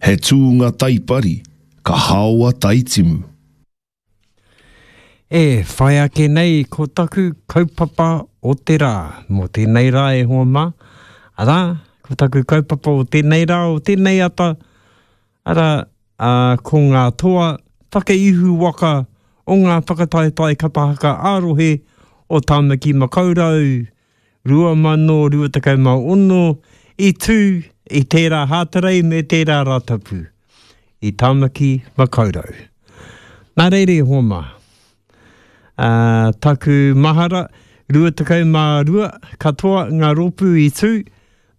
He tūnga taipari, ka haoa taitimu. E whai ake nei ko taku kaupapa o te rā mō tēnei rā e hoa mā, arā, ko taku kaupapa o tēnei rā, o tēnei ata, arā, ā, ko ngā toa whakaihu waka o ngā whakataetae kapa haka ā-rohe o Tāmaki Makaurau 2026 i tū i tērā Hātarei me tērā Rātapu i Tāmaki Makaurau. Nā reira e hoa mā, ā, taku mahara, 22 katoa ngā rōpū i tū,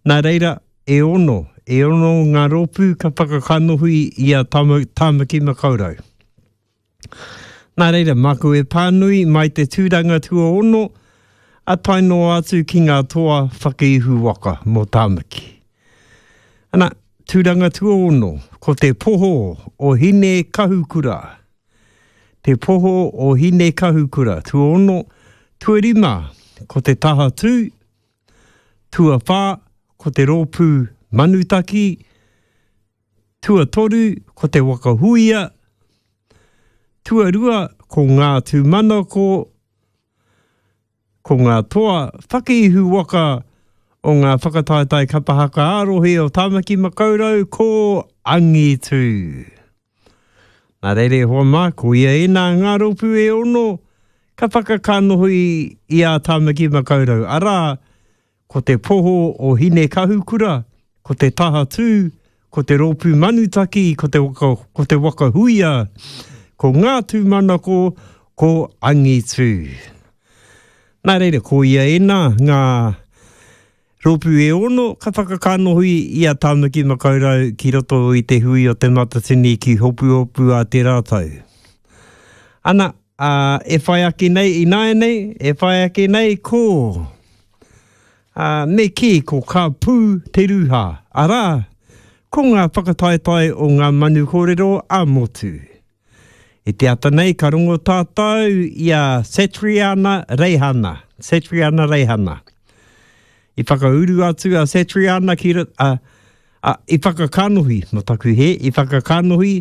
nā reira e ono, e ono ngā rōpū ka whakakanohi i a Tāmaki Makaurau. Nā reira, māku e pānui mai te tūranga tuaono a tae noa atu ki ngā toa whakaihu waka mō Tāmaki. Ana, tūranga tuaono, ko te poho o Hine Kahukura. Te poho o Hine Kahukura, tuaono, tuarima, ko te taha tū, tuawhā, ko te rōpū Manutaki, Tuatoru, ko te waka huia. Tuarua, ko ngā tūmanako, ko ngā toa whakaihu waka o ngā whakataetae kapa haka ā-rohe o Tāmaki Makaurau ko Angitu. Nā reira e hoa mā, ko ia ēnā ngā rōpū e ono ka whakakanohi i a Tāmaki Makaurau, arā, Ko te poho o Hinekahukura, ko te tahatū, ko te rōpū manutaki, ko te waka, ko te waka huia, ko ngā tūmanako, ko angitū. Nā reira, ko ia ēnā ngā rōpū e ono ka whakakanohi i a Tāmaki Makaurau ki roto i te hui o Te Matatini ki Hopuhopu a te rātau. Ana, ā, e whai ake nei ināianei, e whai ake nei ko, ā, me kī ko Ka Pū Te Rūhā, arā, ko ngā whakataetae o ngā manu kōrero ā-motu. I te ata nei ka rongo tātou i a Satriana Reihana, Satriana Reihana. I whakauru atu a Satriana ki, a, a, i whakakanohi, mō taku hē, i whakakanohi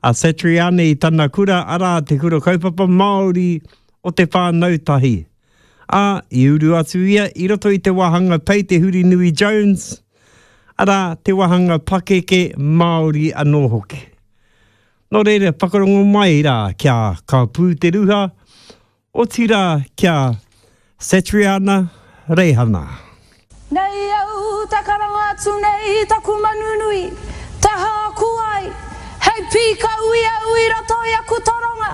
a Satriana i tana kura, arā, te Kura Kaupapa Māori o Te Whānau Tahi. Ā, i uru atu ia i roto i te wāhanga Pei Te Hurinui Jones, arā, te wāhanga pakeke Māori anō hoki. Nō reira, whakarongo mai rā kia ka pū te ruha, Otirā ki a Satriana Reihana. Nei au te karanga atu nei i taku manu nui, te hāku ai, hei pīkau i au i roto i aku toronga.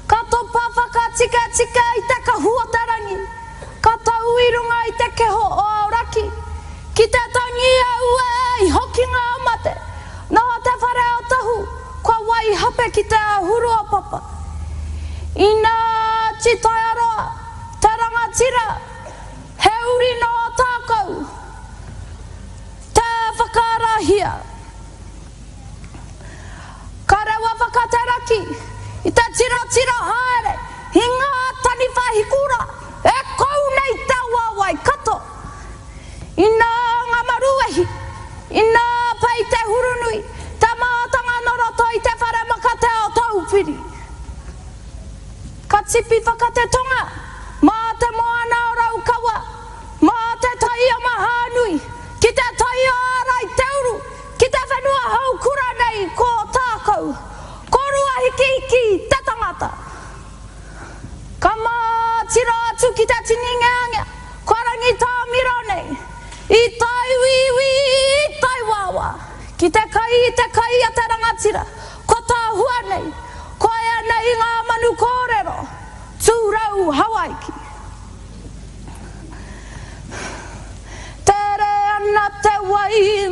Ka topa whakatikatika i te kahu o te rangi, ka tau i runga i te keho o Aoraki, ki te tangi auē i hoki ngā mate, nō te whare o Tahu, Kua waihape ki te āhuru o Papa. Inā Titaiaroa, te rangatira, he uri nō Tākou, te whakaarahia. Ka rewa whakateraki i te tirotiro haere i ngā taniwha hikura e kou nei te awa o Waikato. Inā ngā maruwehi, inā pai te hurunui, te mātanga nō roto i te whare makatea o Taupiri. Ka tipi whakatetonga mā te moana o Raukawa, mā te tai o Mahaanui, ki te tai o Āraiteuru, ki te whenua houkura nei ko Ōtākou, ko Ruahikihiki te tangata. Ka mātiro atu ki te tini ngeangea, kua rangitāmiro nei, i taiwīwī, i taiwāwā, ki te kai i te kai a te rangatira, kua tāhua nei, koia nei ngā manu kōrero, tūrau Hawaiki.